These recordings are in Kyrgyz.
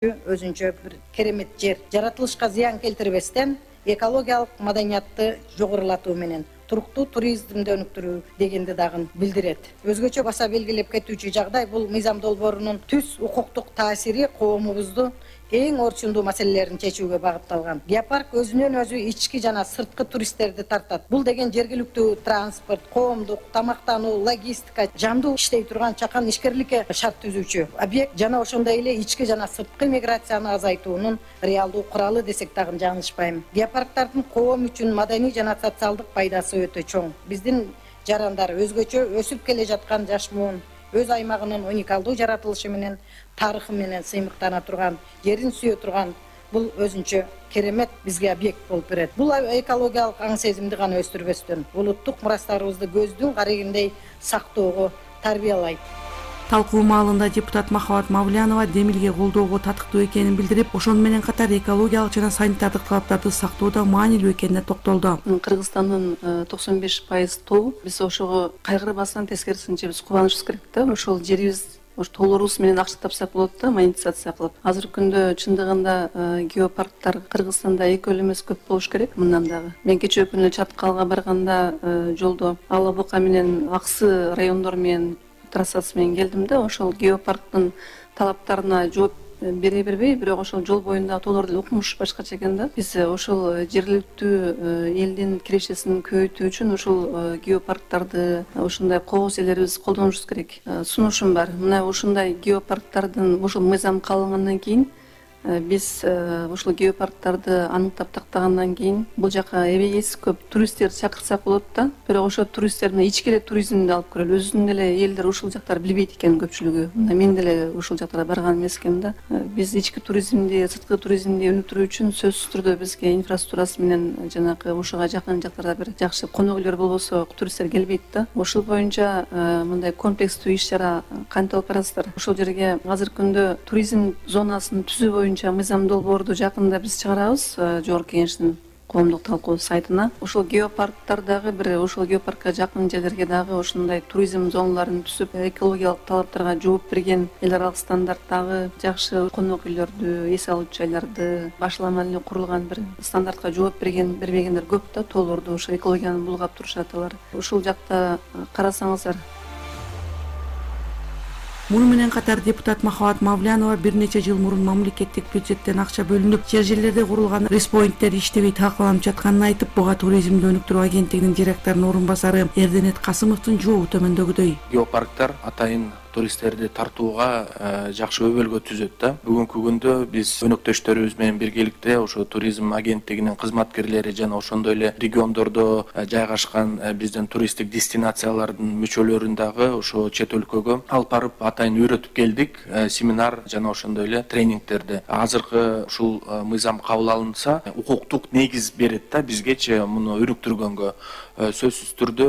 өзүнчө бир керемет жер. Жаратылышка зыян келтирбестен экологиялык маданиятты жогорулатуу менен туруктуу туризмди өнүктүрүү дегенди дагы билдирет. Өзгөчө баса белгилеп кетүүчү жагдай бул мыйзам долбоорунун түз укуктук таасири коомубуздун эң орчундуу маселелерин чечүүгө багытталган. Геопарк өзүнөн өзү ички жана сырткы туристтерди тартат. Бул деген жергиликтүү транспорт, коомдук, тамактануу, логистика, жандуу иштей турган чакан ишкерликке шарт түзүүчү объект жана ошондой эле ички жана сырткы миграцияны азайтуунун реалдуу куралы десек дагы жаңылышпайм. Геопарктардын коом үчүн маданий жана социалдык пайдасы өтө чоң. Биздин жарандар өзгөчө өсүп келе жаткан жаш муун өз аймагынын уникалдуу жаратылышы менен, тарыхы менен сыймыктана турган, жерин сүйө турган бул өзүнчө керемет бизге объект болуп берет. Бул экологиялык аң сезимди гана өстүрбөстөн, улуттук мурастарыбызды көздүн карегиндей сактоого тарбиялайт. Талкуу маалында депутат Махабат Мавлянова Демилге колдоого татыктуу экенин билдирип, ошону менен катар экологиялык жана санитардык талаптарды сактоодо маанилүү экенине токтолду. Кыргызстандын 95% тоо, биз ошого кайгырбастан тескерисинче биз кубанышыбыз керек да. Ошол жерибиз тоолорубуз менен акча тапсак болот да, монетизация кылып. Азыркы күндө чындыгында геопарктар Кыргызстанда эки эле эмес, көп болуш керек мындан дагы. Мен кечээ күнү Чаткалга барганда жолдо Ала Бука менен Аксы райондор менен трассасы менен келдим да, ошол геопарктын талаптарына жооп бере бербей, бирок ошол жол боюндагы тоолорду укмуш башкача экен да. Биз ошол жергиликтүү элдин кирешесин көбөйтүү үчүн ошол геопарктарды, ошондой кооз жерлерибизди колдонушубуз керек. Сунушум бар. Мына ушундай геопарктардын ошол мыйзам кабылгандан кийин биз ушул геопарктарды аныктап тактагандан кийин бул жака эбегейсиз көп туристтерди чакырсак болот да. Бирок ошол туристтер мына ички эле туризмди алып көрөлү. Өзүнүн эле элдер ушул жактарды билбейт экен көпчүлүгү. Мына мен деле ушул жактарга барган эмес экенмин да. Биз ички туризмди, сырткы туризмди өнүктүрүү үчүн сөзсүз түрдө бизге инфраструктурасы менен жанагы ушуга жакын жактарда бир жакшы конок үйлөр болбосо туристтер келбейт да. Ошол боюнча мындай комплекстүү иш чара кантип алып барасыздар? Ошол жерге азыркы күндө туризм зонасын түзүү мыйзам долбоорду жакында биз чыгарабыз Жогорку Кеңештин коомдук талкуу сайтына. Ошол геопарктар дагы бир ошол геопаркка жакын жерлерге дагы ошондой туризм зоналарын түзүп, экологиялык талаптарга жооп берген эл аралык стандарттагы жакшы конок үйлөрдү, эс алуучу жайларды, башламан эле курулган бир стандартка жооп бербегендер көп да, тоолорду ошо экологияны булгап турушат алар. Ушул жакта карасаңыздар. Муну менен катар депутат Махабат Мавлянова бир нече жыл мурун мамлекеттик бюджеттен акча бөлүнүп, жерлерде курулган респоинттер иштебей талкаланып жатканын айтып, буга туризмди өнүктүрүү агенттигинин директорунун орун басары Эрденет Касымовдун жообу төмөндөгүдөй. Геопарктар атайын туристтерди тартууга жакшы өбөлгө түзөт да. Бүгүнкү күндө биз өнөктөштөрүбүз менен биргеликте ошо туризм агенттигинин кызматкерлери жана ошондой эле региондордо жайгашкан биздин туристтик дестинациялардын мүчөлөрүн дагы ошо чет өлкөгө алып барып атайын үйрөтүп келдик, семинар жана ошондой эле тренингтерди. Азыркы ушул мыйзам кабыл алынса, укуктук негиз берет да бизгечи муну өнүктүргөнгө. Сөзсүз түрдө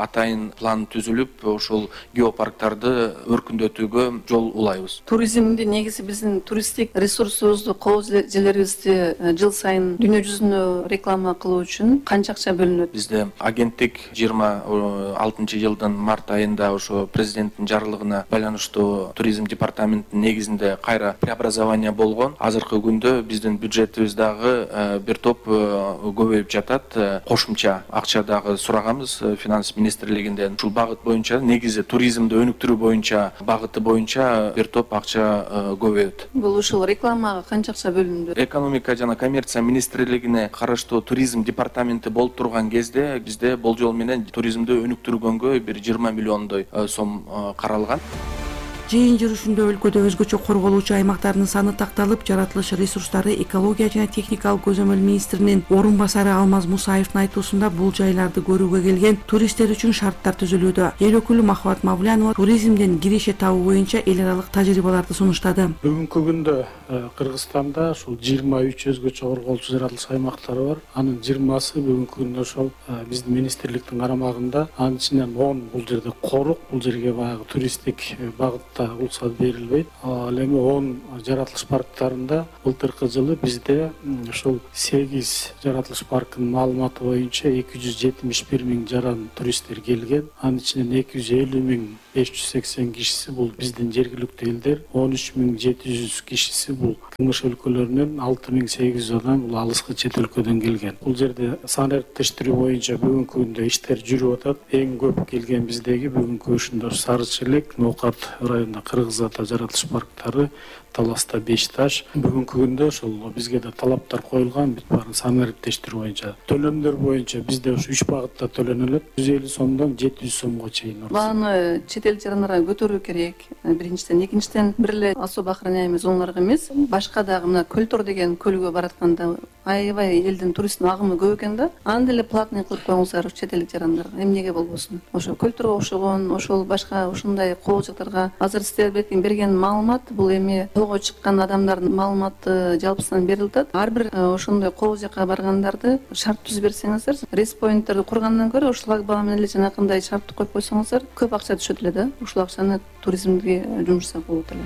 атайын план түзүлүп, ошол геопарктарды өркүндөтүүгө жол улайбыз. Туризмдин негизи биздин туристтик ресурсубузду, кооз жерлерибизди жыл сайын дүйнө жүзүнө реклама кылуу үчүн канча акча бөлүнөт? Бизде агенттик 26-жылдын март айында ошо президенттин жарлыгына байланыштуу туризм департаментинин негизинде кайра преобразование болгон. Азыркы күндө биздин бюджетибиз дагы бир топ көбөйүп жатат. Кошумча акча дагы сураганбыз финанс министрлигинден. Ушул багыт боюнча, негизи туризмди өнүктүрүү боюнча багыты боюнча бир топ акча көбөйөт. Бул ушул рекламага канча акча бөлүндү? Экономика жана коммерция министрлигине караштуу туризм департаменти болуп турган кезде бизде болжол менен туризмди өнүктүргөнгө бир 20 миллиондой сом каралган. Жыйын жүрүшүндө өлкөдө өзгөчө корголуучу аймактардын саны такталып, жаратылыш ресурстары, экология жана техникалык көзөмөл министринин орун басары Алмаз Мусаевдин айтуусунда бул жайларды көрүүгө келген туристтер үчүн шарттар түзүлүүдө. Эл өкүлү Махабат Мавлянова туризмден киреше табуу боюнча эл аралык тажрыйбаларды сунуштады. Бүгүнкү күндө Кыргызстанда ушул 23 өзгөчө корголуучу жаратылыш аймактары бар. Анын 20сы бүгүнкү күндө ошол биздин министрликтин карамагында. Анын ичинен 10 бул жерде корук, бул жерге баягы туристтик багытта уруксат берилбейт. Ал эми 10 жаратылыш парктарында былтыркы жылы бизде ошол 8 жаратылыш паркынын маалыматы боюнча 271 миң жаран туристтер келген. Анын ичинен 250 миң 580 кишиси бул биздин жергиликтүү элдер, 13.700 кишиси бул КМШ өлкөлөрүнөн, 6.800 адам бул алыскы чет өлкөдөн келген. Бул жерде сан эриктештирүү боюнча бүгүнкү күндө иштер жүрүп атат. Эң көп келген биздеги бүгүнкү ушунда Сары Челек, Ноокат районунда Кыргыз Ата жаратылыш парктары, Таласта Бешташ. Бүгүнкү күндө ошол бизге да талаптар коюлган, бүт баарын сан эриктештирүү боюнча. Төлөмдөр боюнча бизде ушу 3 багытта төлөнөлөт. 150 сомдон 700 сомго чейин. Бааны чет эл жарандарга көтөрүү керек. Биринчиден, экинчиден бир эле особо охраняемый зоналарга эмес, башка дагы мына Көлтор деген көлгө баратканда аябай элдин туристтин агымы көп экен да. Аны деле платный кылып коюңуздар чет элдик жарандарга. Эмнеге болбосун? Ошо Көлторго окшогон, ошол башка ушундай коолчуктарга азыр сиздер берген маалымат бул эми тоого чыккан адамдардын маалыматы жалпысынан берилип атат. Ар бир ошондой кол жака баргандарды шарт түзүп берсеңиздер, респоинттерди кургандан көрө ушул шлагбаум менен эле жанакындай шартты коюп койсоңуздар, көп акча түшөт эле да. Ушул акчаны туризмге жумшасак болот эле.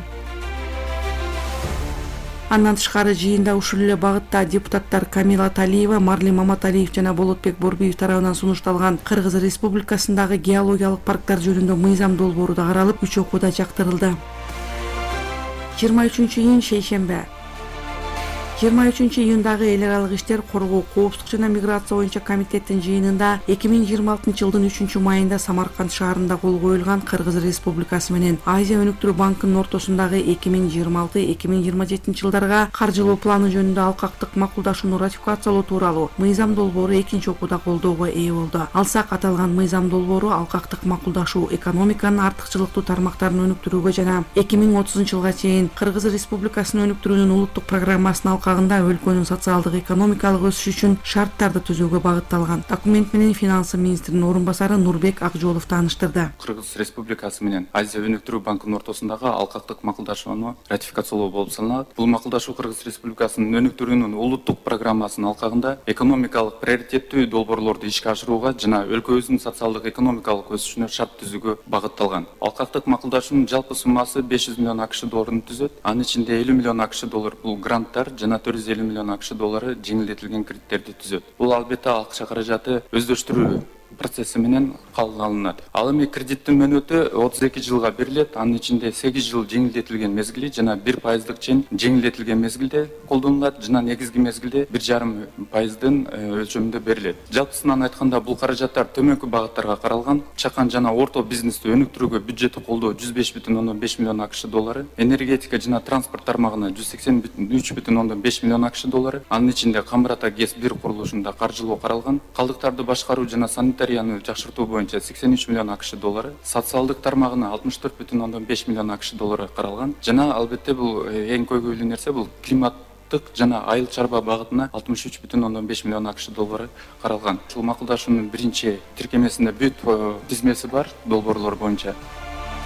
Андан тышкары жыйында ушул эле багытта депутаттар Камила Талиева, Марлен Маматалиев жана Болотбек Борбиев тарабынан сунушталган Кыргыз Республикасындагы геологиялык парктар жөнүндө мыйзам долбоору да каралып, 3 окууда жактырылды. 23-июнь шейшембе. 23-июндагы эл аралык иштер коргоо, коопсуздук жана миграция боюнча комитеттин жыйынында 2026-жылдын 3-майында Самарканд шаарында кол коюлган Кыргыз Республикасы менен Азия өнүктүрүү банкынын ортосундагы 2026-2027 жылдарга каржылоо планы жөнүндө алкактык макулдашууну ратификациялоо тууралуу мыйзам долбоору экинчи окууда колдоого ээ болду. Алсак, аталган мыйзам долбоору алкактык макулдашуу экономиканын артыкчылыктуу тармактарын өнүктүрүүгө жана 2030 жылга чейин Кыргыз Республикасынын өнүктүрүүнүн улуттук программасына өлкөнүн социалдык экономикалык өсүшү үчүн шарттарды түзүүгө багытталган. Документ менен финансы министринин орун басары Нурбек Акжолов тааныштырды. Кыргыз Республикасы менен Азия өнүктүрүү банкынын ортосундагы алкактык макулдашууну ратификациялоо болуп саналат. Бул макулдашуу Кыргыз Республикасынын өнүктүрүүнүн улуттук программасынын алкагында экономикалык приоритеттүү долбоорлорду ишке ашырууга жана өлкөбүздүн социалдык экономикалык өсүшүнө шарт түзүүгө багытталган. Алкактык макулдашуунун жалпы суммасы 500 миллион АКШ долларын түзөт. Анын ичинде 50 миллион АКШ доллар бул гранттар жана 450 миллион АКШ доллары жеңилдетилген кредиттерди түзөт. Бул албетте акча каражаты өздөштүрүү процесси менен кабыл алынат. Ал эми кредиттин мөөнөтү 32 жылга берилет. Анын ичинде 8 жыл жеңилдетилген мезгили жана 1% чейин жеңилдетилген мезгилде колдонулат жана негизги мезгилде 1,5% өлчөмүндө берилет. Жалпысынан айтканда бул каражаттар төмөнкү багыттарга каралган. Чакан жана орто бизнести өнүктүрүүгө бюджетти колдоо 105,5 миллион АКШ доллары, энергетика жана транспорт тармагына 183,5 миллион АКШ доллары, анын ичинде Камбар-Ата ГЭС 1 курулушунда каржылоо каралган. Калдыктарды башкаруу жана санитарияны жакшыртуу боюнча 83 миллион АКШ доллары, социалдык тармагына 64,5 миллион АКШ доллары каралган. Жана албетте бул эң көйгөйлүү нерсе бул климаттык жана айыл чарба багытына 63,5 миллион АКШ доллары каралган. Ушул макулдашуунун биринчи тиркемесинде бүт тизмеси бар долбоорлор боюнча.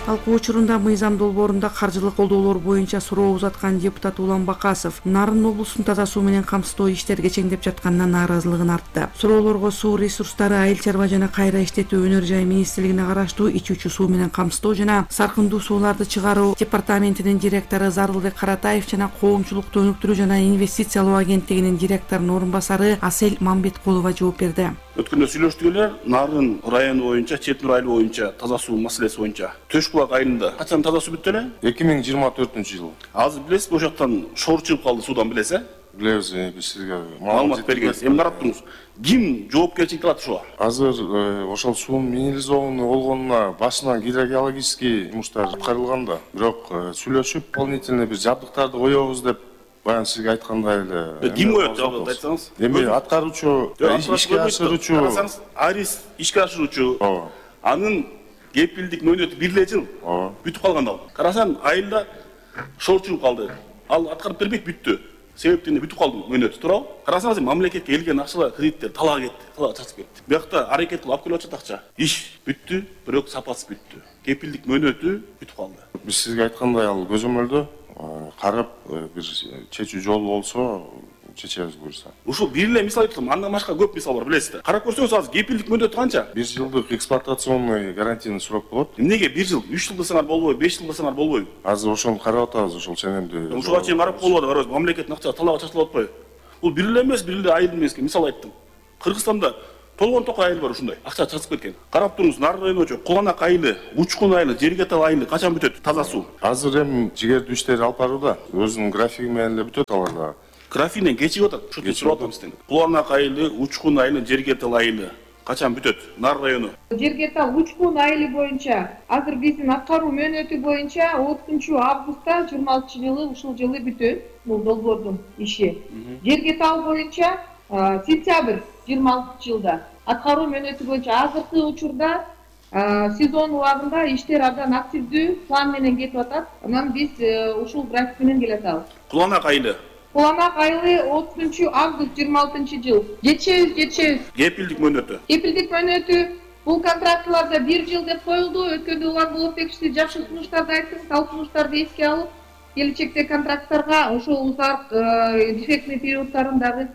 Талкуу учурунда мыйзам долбоорунда каржылык колдоолор боюнча суроо узаткан депутат Улан Бакасов Нарын облусун таза суу менен камсыздоо иштер кечеңдеп жатканына нааразылыгын артты. Суроолорго суу ресурстары, айыл чарба жана кайра иштетүү өнөр жай министрлигине караштуу ичүүчү суу менен камсыздоо жана саркындуу сууларды чыгаруу департаментинин директору Зарылбек Каратаев жана коомчулукту өнүктүрүү жана инвестициялоо агенттигинин директорунун орун басары Асель Мамбеткулова жооп берди. Өткөндө сүйлөштүк эле, Нарын району боюнча, Четнур айылы боюнча таза суу маселеси боюнча. Төшбулак айылында качан таза суу бүттү эле? 2024-жыл. Азыр билесиз, ошол жактан шоор чыгып калды суудан, билесиз? Билебиз, биз сизге маалымат бергенбиз. Эми карап ким жоопкерчилик алат ушуга? Азыр ошол суунун минерализованный болгонуна башынан гидрогеологический жумуштар аткарылган да. Бирок сүйлөшүп, дополнительный бир жабдыктарды коебуз деп баягы сизге айткандай эле. Ким коет жабдыкты айтсаңыз? Эми аткаруучу, ишке ашыруучу. Карасаңыз, Арис ишке ашыруучу. Ооба. Анын кепилдик мөөнөтү 1 жыл. Ооба. Бүтүп калган ал. Карасаң, айылда шоор чыгып калды. Ал аткарып бербейт, бүттү. Себептен бүтүп калды мөөнөтү, туурабы? Карасаңыз, мамлекетке келген акчалар, кредиттер талаа кетти, талаа чачып кетти. Биякта аракет кылып алып келип атат акча. Иш бүттү, бирок сапасы бүттү. Кепилдик мөөнөтү бүтүп калды. Биз сизге айткандай ал көзөмөлдө карап бир чечүү жолу болсо чечебиз буюрса. Ушул бир эле мисал айттым, андан башка көп мисал бар, билесиздер. Карап көрсөңүз, азыр кепилдик мөөнөтү канча? 1 жылдык эксплуатационный гарантийный срок болот. Эмнеге 1 жыл, 3 жыл десеңер болбойбу, 5 жыл десеңер болбойбу? Азыр ошону карап атабыз, ошол ченемди. Ушуга чейин карап болуп атат, мамлекеттин акчасы талаага чачылып атпайбы? Бул бир эле эмес, бир эле айыл эмес, мисал айттым. Кыргызстанда толгон токой айыл бар ушундай. Акча чыгып кеткен. Карап туруңуз, Нары районунчу Куланак айылы, Учкун айылы, Жергетал айылы качан бүтөт таза суу? Азыр эми жигердүү иштери алып барууда. Өзүнүн графиги менен эле бүтөт алар дагы. Графигинен кечигип атат. Ушул сурап атам сизден. Куланак айылы, Учкун айылы, Жергетал айылы качан бүтөт? Нары району. Жергетал Учкун айылы боюнча азыр биздин аткаруу мөөнөтү боюнча 30-августта 26-жылы ушул жылы бүтөт. Бул долбоордун иши. Жергетал боюнча сентябрь 26-жылда аткаруу мөөнөтү боюнча азыркы учурда сезон убагында иштер абдан активдүү план менен кетип атат. Анан биз ушул график менен келатабыз. Куланак айылы. Куланак айылы 30-август 26-жыл. Жетишебиз. Кепилдик мөөнөтү. Кепилдик мөөнөтү бул контрактыларда 1 жыл деп коюлду. Өткөндө улан Болотбек киши жакшы сунуштарды айтты. Ал сунуштарды эске алып, келечекте контракттарга ошол узак дефектный периодтарын дагы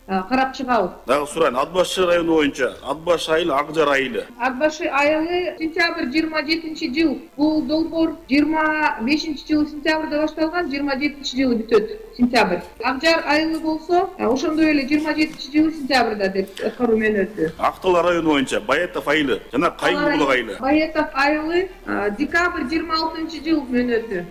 карап чыгабыз. Дагы сурайын, Ат башы району боюнча Ат башы айылы, Ак жар айылы. Ат башы айылы сентябрь 27-жыл. Бул долбоор 25-жылы сентябрда башталган, 27-жылы бүтөт сентябрь. Ак жар айылы болсо, ошондой эле 27-жылы сентябрда деп аткаруу мөөнөтү. Актала району боюнча Баетов айылы жана Кайгыбулак айылы. Баетов айылы декабрь 26-жыл мөөнөтү.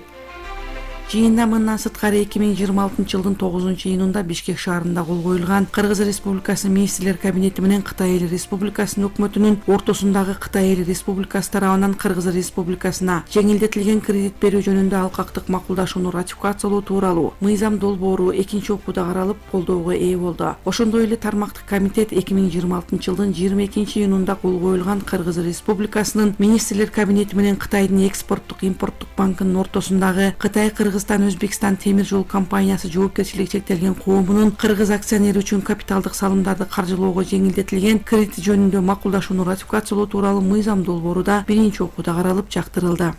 Жыйында мындан сырткары 2026-жылдын 9-июнунда Бишкек шаарында кол коюлган Кыргыз Республикасы Министрлер Кабинети менен Кытай Эл Республикасынын өкмөтүнүн ортосундагы Кытай Эл Республикасы тарабынан Кыргыз Республикасына жеңилдетилген кредит берүү жөнүндө алкактык макулдашууну ратификациялоо тууралуу мыйзам долбоору экинчи окууда каралып колдоого ээ болду. Ошондой эле тармактык комитет 2026-жылдын 22-июнунда кол коюлган Кыргыз Республикасынын Министрлер Кабинети менен Кытайдын экспорттук импорттук банкынын ортосундагы Кытай Өзбекстан темир жол компаниясы жоопкерчилиги чектелген коомунун Кыргыз акционери үчүн капиталдык салымдарды каржылоого жеңилдетилген кредит жөнүндө макулдашууну ратификациялоо тууралуу мыйзам долбоору да биринчи окууда каралып жактырылды.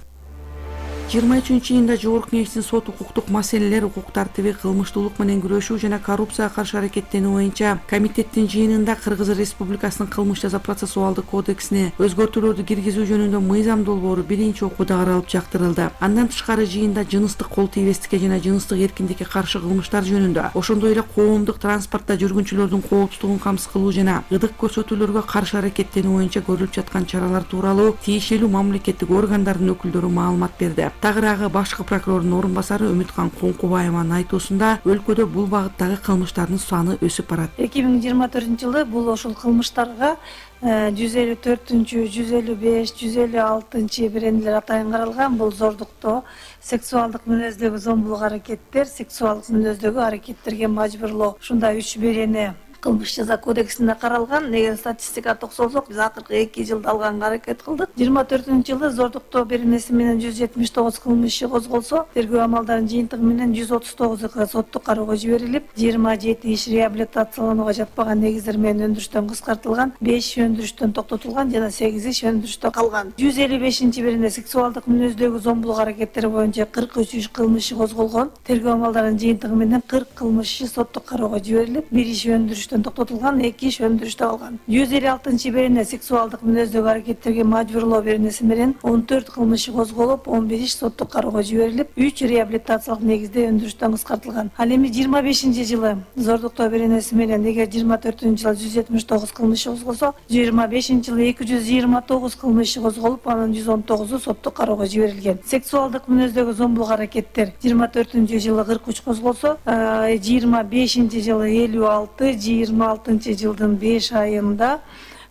23-июнда Жогорку Кеңештин сот укуктук маселелер, укук тартиби, кылмыштуулук менен күрөшүү жана коррупцияга каршы аракеттенүү боюнча комитеттин жыйынында Кыргыз Республикасынын кылмыш жаза процессуалдык кодексине өзгөртүүлөрдү киргизүү жөнүндө мыйзам долбоору биринчи окууда каралып жактырылды. Андан тышкары жыйында жыныстык кол тийбестикке жана жыныстык эркиндикке каршы кылмыштар жөнүндө, ошондой эле коомдук транспортто жүргүнчүлөрдүн коопсуздугун камсыз кылуу жана ыдык көрсөтүүлөргө каршы аракеттенүү боюнча көрүлүп жаткан чаралар тууралуу тиешелүү мамлекеттик органдардын өкүлдөрү маалымат берди. Тагыраагы башкы прокурордун орун басары Үмүткан Коңкубаеванын айтуусунда өлкөдө бул багыттагы кылмыштардын саны өсүп барат. 2024-жылы бул ошол кылмыштарга 154, 155, 156 беренелер атайын каралган. Бул зордуктоо, сексуалдык мүнөздөгү зомбулук аракеттер, сексуалдык мүнөздөгү аракеттерге мажбурлоо. Ушундай 3 берене кылмыш жаза кодексинде каралган. Эгер статистика токсолсок, биз акыркы 2 жылда алганга аракет кылдык. 24-жылы зордуктоо беренеси менен 179 кылмыш иши козголсо, тергөө амалдарынын жыйынтыгы менен 139 соттук кароого жиберилип, 27 иш реабилитациялоонуга жатпаган негиздер менен өндүрүштөн кыскартылган, 5 өндүрүштөн токтотулган жана 8 иш өндүрүштө калган. 155 берене сексуалдык мүнөздөгү зомбулук аракеттери боюнча 43 иш кылмыш иши козголгон. Тергөө амалдарынын жыйынтыгы менен 40 кылмыш иши соттук кароого жиберилип, 1 иш өндүрүштөн токтотулган, 2 иш өндүрүштө калган. 156 берене сексуалдык мүнөздөгү аракеттерге мажбурлоо беренеси менен 14 кылмыш иши козголуп, 11 иш соттук кароого жиберилип, 3 реабилитациялык негизде өндүрүштөн кыскартылган. Ал эми 25-жылы зордуктоо беренеси менен эгер 24-жылы 179 кылмыш иши козголсо, 25-жылы 229 кылмыш иши козголуп, анын 119у соттук кароого жиберилген. Сексуалдык мүнөздөгү зомбулук аракеттер 24-жылы 43 козголсо, 25-жылы 56, 26-жылдын 5 айында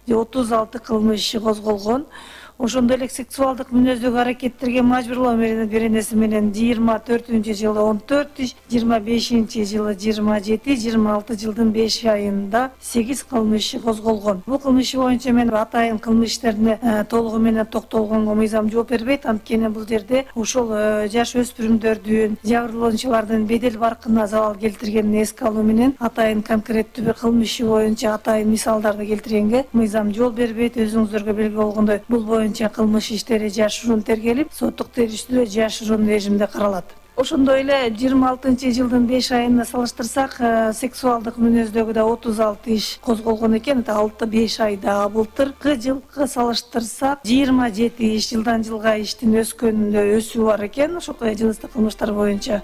36 кылмыш иши козголгон. Ошондой эле сексуалдык мүнөздөгү аракеттерге мажбурлоо беренеси менен 24-жылы 14 иш, 25-жылы 27, 26 жылдын 5 айында 8 кылмыш иши козголгон. Бул кылмыш иши боюнча мен атайын кылмыш иштерине толугу менен токтолгонго мыйзам жооп бербейт. Анткени бул жерде ошол жаш өспүрүмдөрдүн, жабырлануучулардын бедел баркына залал келтиргенин эске алуу менен атайын конкреттүү бир кылмыш иши боюнча атайын мисалдарды келтиргенге мыйзам жол бербейт. Өзүңүздөргө белгилүү болгондой, бул боюнча кылмыш иштери жашыруун тергелип, соттук териштирүү жашыруун режимде каралат. Ошондой эле 26-жылдын 5 айына салыштырсак, сексуалдык мүнөздөгү да 36 иш козголгон экен. 6-5 айда былтыркы жылкы салыштырсак 27 иш, жылдан жылга иштин өскөнүндө өсүү бар экен ошол жыныстык кылмыштар боюнча.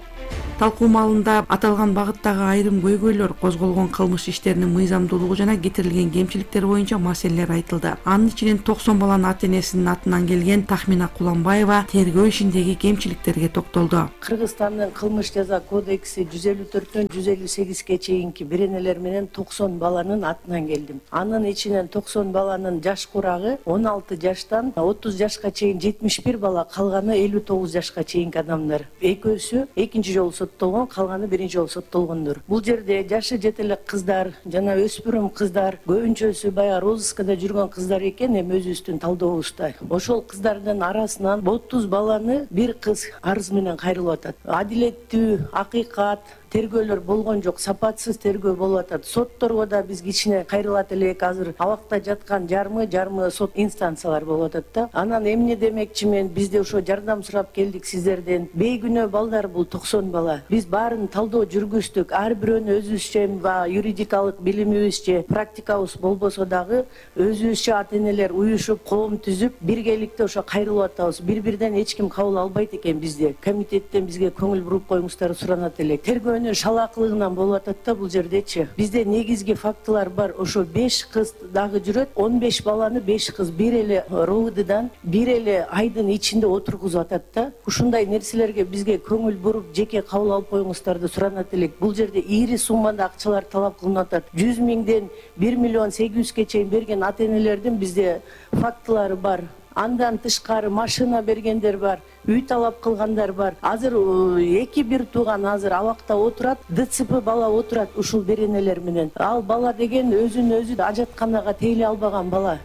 Талкуу маалында аталган багыттагы айрым көйгөйлөр, козголгон кылмыш иштеринин мыйзамдуулугу жана кетирилген кемчиликтер боюнча маселелер айтылды. Анын ичинен 90 баланын ата-энесинин атынан келген Тахмина Куланбаева тергөө ишиндеги кемчиликтерге токтолду. Кыргызстандын кылмыш жаза кодекси 154-төн 158-ге чейинки беренелер менен 90 баланын атынан келдим. Анын ичинен 90 баланын жаш курагы 16 жаштан 30 жашка чейин 71 бала, калганы 59 жашка чейинки адамдар. Экөөсү экинчи жолу соттолгон, калганы биринчи жолу соттолгондор. Бул жерде жашы жете элек кыздар жана өспүрүм кыздар, көбүнчөсү баягы розыскада жүргөн кыздар экен, эми өзүбүздүн талдообузда. Ошол кыздардын арасынан 30 баланы бир кыз арыз менен кайрылып атат. Адилеттүү, акыйкат тергөөлөр болгон жок, сапатсыз тергөө болуп атат. Сотторго да биз кичине кайрылат элек, азыр абакта жаткан жарымы сот инстанциялар болуп атат да. Анан эмне демекчи мен, бизде ошо жардам сурап келдик сиздерден. Бейгүнөө балдар бул 90 бала. Биз баарын талдоо жүргүздүк. Ар бирөөнү өзүбүзчө юридикалык билимибизче, практикабыз болбосо дагы өзүбүзчө ата-энелер уюшуп, коом түзүп, биргеликте ошо кайрылып атабыз. Бир-бирден эч ким кабыл албайт экен бизде. Комитеттен бизге көңүл буруп коюңуздар суранат элек. Шалакылыгынан болуп атат да бул жердечи. Бизде негизги фактылар бар. Ошо 5 кыз дагы жүрөт. 15 баланы 5 кыз бир эле РОВДдан бир эле айдын ичинде отургузуп атат да. Ушундай нерселерге бизге көңүл буруп, жеке кабыл алып коюңуздарды суранат элек. Бул жерде ири суммада акчалар талап кылынып атат. 100 миңден 1 миллион 800ге чейин берген ата-энелердин бизде фактылары бар. Андан тышкары машина бергендер бар, үй талап кылгандар бар. Азыр эки бир тууган азыр абакта отурат, ДЦП бала отурат ушул беренелер менен. Ал бала деген өзүн өзү ажатканага тейлей албаган бала.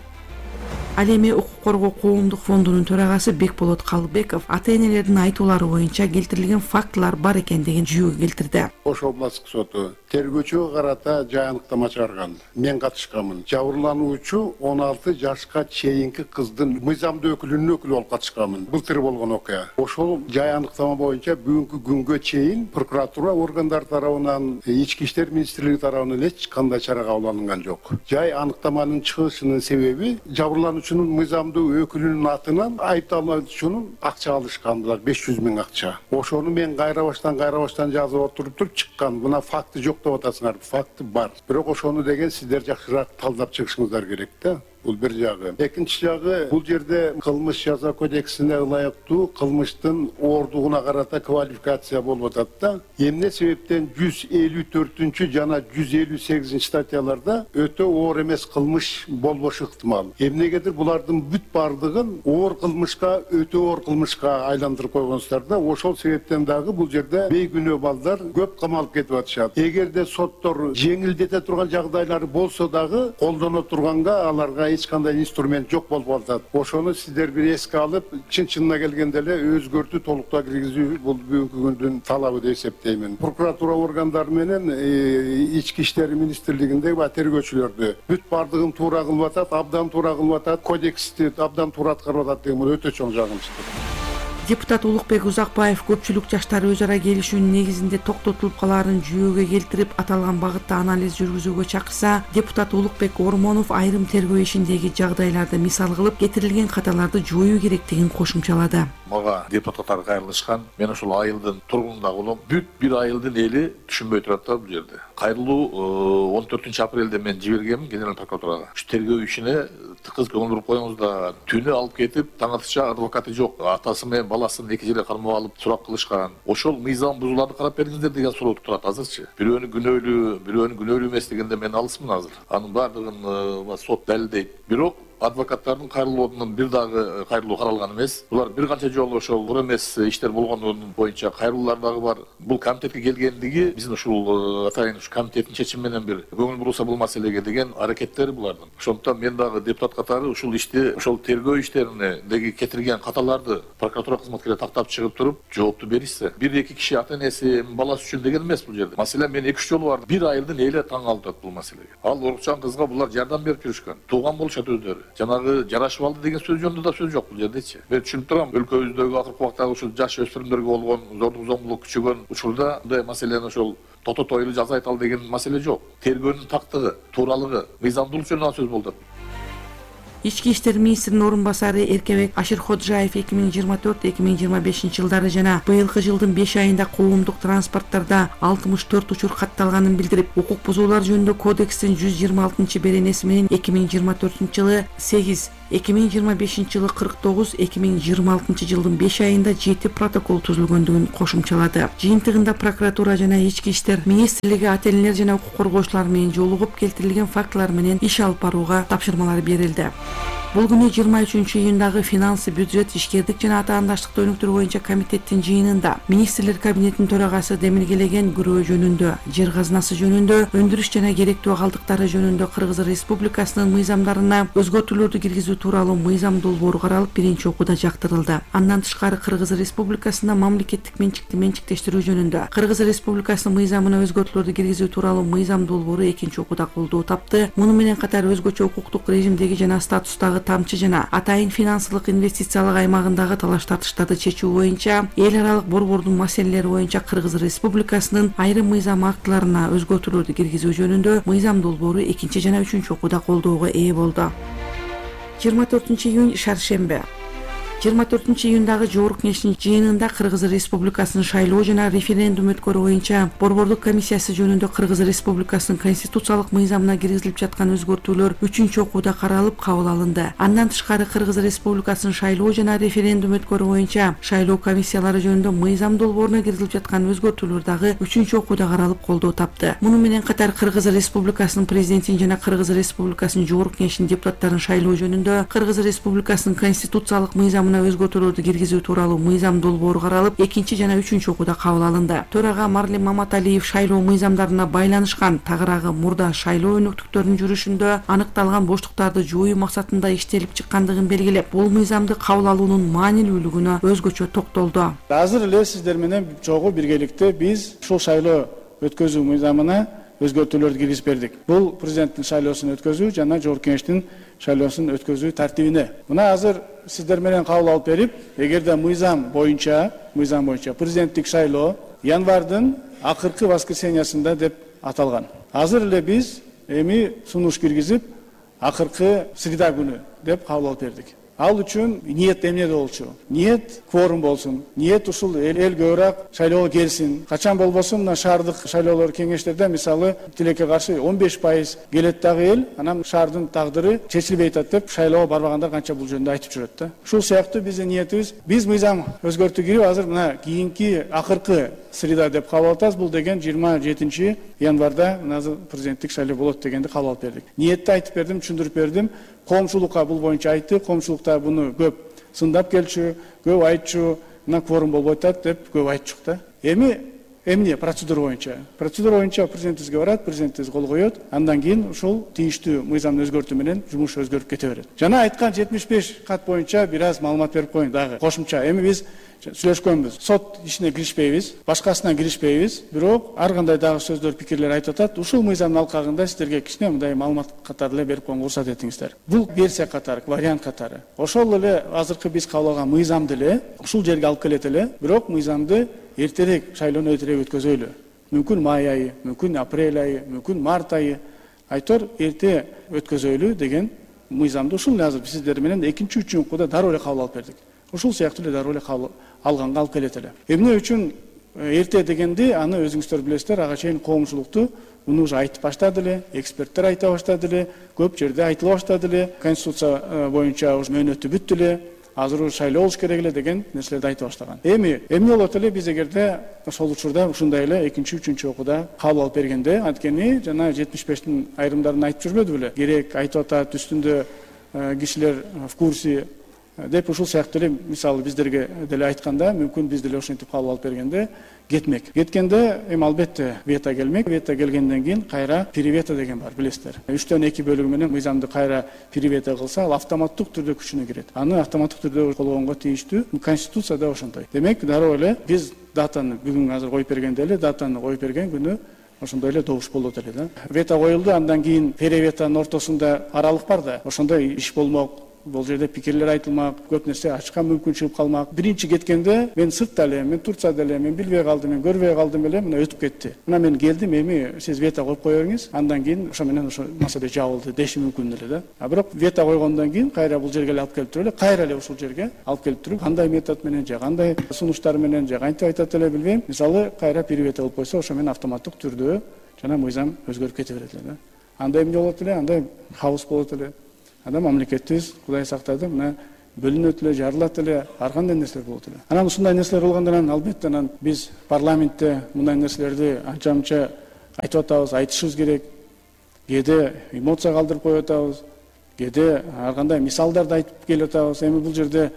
Ал эми укук коргоо коомдук фондунун төрагасы Бекболот Калыбеков ата-энелердин айтуулары боюнча келтирилген фактылар бар экендигин жүйөгө келтирди. Ош областтык соту тергөөчүгө карата жай аныктама чыгарган. Мен катышканмын. Жабырлануучу 16 жашка чейинки кыздын мыйзамдуу өкүлүнүн өкүлү болуп катышканмын. Былтыр болгон окуя. Ошол жай аныктама боюнча бүгүнкү күнгө чейин прокуратура органдары тарабынан, ички иштер министрлиги тарабынан эч кандай чара кабыл алынган жок. Жай аныктаманын чыгышынын себеби жабырлануучунун мыйзамдуу өкүлүнүн атынан айыпталуучунун акча алышкандылар, 500 миң акча. Ошону мен кайрабаштан жазып отуруп чыккан. Мына факты жок деп атасыңар. Факты бар. Бирок ошону деген сиздер жакшыраак талдап чыгышыңыздар керек да. Бул бир жагы. Экинчи жагы, бул жерде кылмыш жаза кодексине ылайыктуу кылмыштын оордугуна карата квалификация болуп атат да. Эмне себептен 154 жана 158 статьяларда өтө оор эмес кылмыш болбошу ыктымал. Эмнегедир булардын бүт бардыгын оор кылмышка, өтө оор кылмышка айландырып койгонсуздар да. Ошол себептен дагы бул жерде бейгүнөө балдар көп камалып кетип атышат. Эгерде соттор жеңилдете турган жагдайлары болсо дагы колдоно турганга аларга эч кандай инструмент жок болуп атат. Ошону сиздер бир эске алып, чын-чынына келгенде эле өзгөртүү толуктоо киргизүү бул бүгүнкү күндүн талабы деп эсептеймин. Прокуратура органдары менен ички иштер министрлигинде тергөөчүлөрдү бүт бардыгын туура кылып атат, абдан туура кылып атат, кодексти абдан туура аткарып атат деген өтө чоң жагымсыздык. Депутат Улукбек Узакбаев көпчүлүк жаштар өз ара келишүүнүн негизинде токтотулуп калаарын жүйөгө келтирип, аталган багытта анализ жүргүзүүгө чакырса, депутат Улукбек Ормонов айрым тергөө ишиндеги жагдайларды мисал кылып, кетирилген каталарды жоюу керектигин кошумчалады. Мага депутаттар кайрылышкан. Мен ошол айылдын тургунунда болом. Бүт бир айылдын эли түшүнбөй турат да бул жерде. Кайрылуу 14 апрелде мен жибергенмин генерал прокуратурага. Ушу тергөө ишине тыкыз көңүл буруп коюңуз да. Түнү алып кетип, таң атышча адвокаты жок. Атасы менен баласын эки жерге кармап алып сурак кылышкан. Ошол мыйзам бузууларды карап бериңиздер деген суроо турат азырчы. Бирөөнү күнөөлүү эмес дегенде мен алысмын азыр. Анын баардыгын сот далилдейт. Бирок адвокаттардын кайрылуунун бир дагы кайрылуу каралган эмес. Булар бир канча жолу ошол оор эмес иштер болгондугунун боюнча кайрылуулар дагы бар. Бул комитетке келгендиги биздин ушул атайын ушу комитеттин чечими менен бир көңүл бурулса бул маселеге деген аракеттери булардын. Ошондуктан мен дагы депутат катары ушул ишти, ошол тергөө иштериндеги кетирген каталарды прокуратура кызматкерлери тактап чыгып туруп жоопту беришсе, бир-эки киши ата-энеси баласы үчүн деген эмес бул жерде. Маселен мен 2-3 жолу бардым. Бир айылдын эли таң калып атат бул маселеге. Ал урукчан кызга булар жардам берип жүрүшкөн. Тууган болушат өздөрү. жанагы жарашып алды деген сөз жөнүндө да сөз жок бул жердечи. Мен түшүнүп турам, өлкөбүздөгү акыркы убактагы ушул жаш өспүрүмдөргө болгон зордук зомбулук күчөгөн учурда мындай маселени ошол тото-тойлуу жаза айталы деген маселе жок. Тергөөнүн тактыгы, тууралыгы, мыйзамдуулук жөнүндө сөз болду. Ички иштер министринин орун басары Эркебек Аширходжаев 2024-2025 жылдары жана быйылкы жылдын 5 айында коомдук транспорттордо 64 учур катталганын билдирип, укук бузуулар жөнүндө кодекстин 126 беренеси менен 2024 жылы 8, 2025 жылы 49, 2026 жылдын 5 айында 7 протокол түзүлгөндүгүн кошумчалады. Жыйынтыгында прокуратура жана ички иштер министрлиги ата-энелер жана укук коргоочулар менен жолугуп келтирилген фактылар менен иш алып барууга тапшырмалар берилди. Бул күнү 23-июндагы финансы, бюджет, ишкердик жана атаандаштыкты өнүктүрүү боюнча комитеттин жыйынында министрлер кабинетинин төрагасы демилгелеген күрөө жөнүндө, жер казынасы жөнүндө, өндүрүш жана керектүү калдыктары жөнүндө Кыргыз Республикасынын мыйзамдарына өзгөртүүлөрдү киргизүү тууралуу мыйзам долбоору каралып, биринчи окууда жактырылды. Андан тышкары Кыргыз Республикасында мамлекеттик менчиктештирүү жөнүндө Кыргыз Республикасынын мыйзамына өзгөртүүлөрдү киргизүү тууралуу мыйзам долбоору экинчи окууда колдоо тапты. Муну менен катар өзгөчө укуктук режимдеги жана статустагы тамчы жана атайын финансылык инвестициялык аймагындагы талаш тартыштарды чечүү боюнча эл аралык борбордун маселелери боюнча Кыргыз Республикасынын айрым мыйзам актыларына өзгөртүүлөрдү киргизүү жөнүндө мыйзам долбоору экинчи жана үчүнчү окууда колдоого ээ болду. 24-июнь шаршембе. 24-июндагы Жогорку Кеңештин жыйынында Кыргыз Республикасынын шайлоо жана референдум өткөрүү боюнча борбордук комиссиясы жөнүндө Кыргыз Республикасынын конституциялык мыйзамына киргизилип жаткан өзгөртүүлөр 3-чү окууда каралып кабыл алынды. Андан тышкары Кыргыз Республикасынын шайлоо жана референдум өткөрүү боюнча шайлоо комиссиялары жөнүндө мыйзам долбооруна киргизилип жаткан өзгөртүүлөр дагы 3-чү окууда каралып колдоо тапты. Муну менен катар Кыргыз Республикасынын президентин жана Кыргыз Республикасынын Жогорку Кеңештин депутаттарын шайлоо жөнүндө Кыргыз Республикасынын конституциялык мыйзамына өзгөртүүлөрдү киргизүү тууралуу мыйзам долбоору каралып, экинчи жана үчүнчү окууда кабыл алынды. Төрага Марлим Маматалиев шайлоо мыйзамдарына байланышкан тагыраагы мурда шайлоо өнөктүктөрүнүн жүрүшүндө аныкталган боштуктарды жоюу максатында иштелип чыккандыгын белгилеп, бул мыйзамды кабыл алуунун маанилүүлүгүнө өзгөчө токтолду. Азыр эле сиздер менен чогуу биргеликте биз ушул шайлоо өткөзүү мыйзамына өзгөртүүлөрдү киргизип бердик. Бул президенттин шайлоосун өткөзүү жана Жогорку Кеңештин шайлоосун өткөзүү тартибине. Мына азыр сиздер менен кабыл алып берип, эгерде мыйзам боюнча президенттик шайлоо январдын акыркы воскресеньясында деп аталган. Азыр эле биз эми сунуш киргизип, акыркы среда күнү деп кабыл алып бердик. Ал үчүн ниет эмнеде болчу? Ниет кворум болсун. Ниет ушул эл көбүрөөк шайлоого келсин. Качан болбосун мына шаардык шайлоолор кеңештерде мисалы тилекке каршы 15% келет дагы эл, анан шаардын тагдыры чечилбей атат деп шайлоого барбагандар канча бул жөнүндө айтып жүрөт да. Ушул сыяктуу биздин ниетибиз, биз мыйзам өзгөртүү кирип азыр мына кийинки акыркы среда деп кабыл алабыз. Бул деген 27 январда азыр президенттик шайлоо болот дегенди кабыл алып бердик. Ниетти айтып бердим, түшүндүрүп бердим. Коомчулукка бул боюнча айтты. Коомчулукта буну көп сындап келчү, көп айтчу, мына кворум болбойт деп көп айтчук да. Эми эмне процедура боюнча? Процедура боюнча президентибизге барат, президентибиз кол коет. Андан кийин ушул тийиштүү мыйзамды өзгөртүү менен жумуш өзгөрүп кете берет. Жана айткан 75 кат боюнча бир аз маалымат берип коеюн дагы. Кошумча эми биз сүйлөшкөнбүз. Сот ишине киришпейбиз, башкасына киришпейбиз. Бирок ар кандай дагы сөздөр, пикирлер айтып атат. Ушул мыйзамдын алкагында сиздерге кичине мындай маалымат катары эле берип коюнга уруксат этиңиздер. Бул версия катары, вариант катары. Ошол эле азыркы биз кабыл алган мыйзамды эле ушул жерге алып келет эле. Бирок мыйзамды эртерээк, шайлоону эртерээк өткөзөйлү. Мүмкүн май айы, мүмкүн апрель айы, мүмкүн март айы. Айтор эрте өткөзөйлү деген мыйзамды ушул азыр сиздер менен экинчи, үчүнчү окууда дароо эле кабыл алып бердик. Ушул сыяктуу эле дароо эле кабыл алганга алып келет эле. Эмне үчүн эрте дегенди, аны өзүңүздөр билесиздер, ага чейин коомчулукту муну уже айтып баштады эле, эксперттер айта баштады эле, көп жерде айтыла баштады эле, конституция боюнча уже мөөнөтү бүттү эле, азыр шайлоо болуш керек эле деген нерселерди айта баштаган. Эми эмне болот эле биз эгерде ошол учурда ушундай эле экинчи, үчүнчү окууда кабыл алып бергенде, анткени жана 75-тин айрымдарын айтып жүрбөдү беле? Керек айтып атат, үстүндө кишилер в курсе деп ушул сыяктуу эле мисалы биздерге деле айтканда, мүмкүн биз деле ошентип кабыл алып бергенде кетмек. Кеткенде эми албетте вето келмек. Вето келгенден кийин кайра перевето деген бар, билесиздер. 3/2 бөлүгү менен мыйзамды кайра перевето кылса, ал автоматтык түрдө күчүнө кирет. Аны автоматтык түрдө колгонго тийиштүү. Конституцияда ошондой. Демек, дароо эле биз датаны бүгүн азыр коюп бергенде эле датаны коюп берген күнү ошондой эле добуш болот эле да. Вето коюлду, андан кийин переветанын ортосунда аралык бар да, ошондой иш болмок. Бул жерде пикирлер айтылмак, көп нерсе ачыкка мүмкүн чыгып калмак. Биринчи кеткенде мен сыртта эле, мен Турцияда эле, мен билбей калдым, мен көрбөй калдым эле, мына өтүп кетти. Мына мен келдим, эми сиз вето коюп коюңуз, андан кийин ошо менен ошо маселе жабылды деши мүмкүн эле да. А бирок вето койгондон кийин кайра бул жерге алып келип туруп эле, кайра эле ушул жерге алып келип туруп, кандай метод менен же кандай сунуштар менен же кантип айтат эле билбейм. Мисалы, кайра перевето кылып койсо, ошо менен автоматтык түрдө жана мыйзам өзгөрүп кете берет эле да. Андай эмне болот эле, андай хаос болот эле. Анда мамлекетибиз Кудай сактады, мына бөлүнөт эле, жарылат эле, ар кандай нерселер болот эле. Анан ушундай нерселер болгондон албетте биз парламентте мындай нерселерди анча-мынча айтып атабыз, айтышыбыз керек. Кээде эмоция калтырып коюп атабыз, кээде ар кандай мисалдарды айтып келип атабыз. Эми бул жерде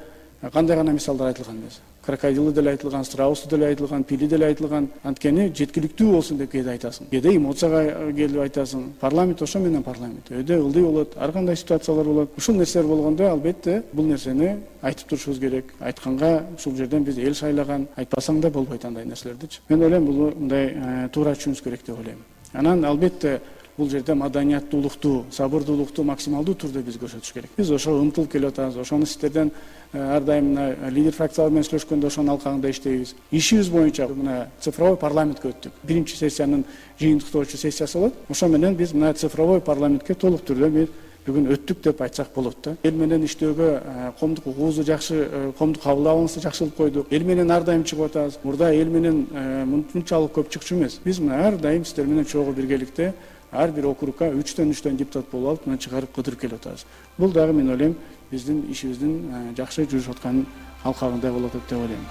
кандай гана мисалдар айтылган эмес. Крокодилы деле айтылган, страусу деле айтылган, пили деле айтылган. Анткени жеткиликтүү болсун деп кээде айтасың. Кээде эмоцияга келип айтасың. Парламент ошо менен парламент. Өйдө ылдый болот, ар кандай ситуациялар болот. Ушул нерселер болгондо албетте бул нерсени айтып турушубуз керек. Айтканга ушул жерден биз эл шайлаган, айтпасаң да болбойт андай нерселердичи. Мен ойлойм бул мындай туура түшүнүш керек деп ойлойм. Анан албетте бул жерде маданияттуулукту, сабырдуулукту максималдуу түрдө биз көрсөтүш керек. Биз ошо умтулуп келип атабыз. Ошону сиздерден ар дайым лидер фракциялар менен сүйлөшкөндө ошонун алкагында иштейбиз. Ишибиз боюнча мына цифровой парламентке өттүк. Биринчи сессиянын жыйынтыктоочу сессиясы болот. Ошо менен биз мына цифровой парламентке толук түрдө биз бүгүн өттүк деп айтсак болот да. Эл менен иштөөгө коомдук угуузу жакшы, коомдук кабыл алуусу жакшылып койдук. Эл менен ар дайым чыгып атабыз. Мурда эл менен мынчалык көп чыкчу эмес. Биз мына ар дайым сиздер менен чогуу биргеликте ар бир округга 3төн депутат болуп алып, мына чыгарып кыдырып келип атабыз. Бул дагы мен ойлойм биздин ишибиздин жакшы жүрүшүп аткан алкагында болот деп ойлойм.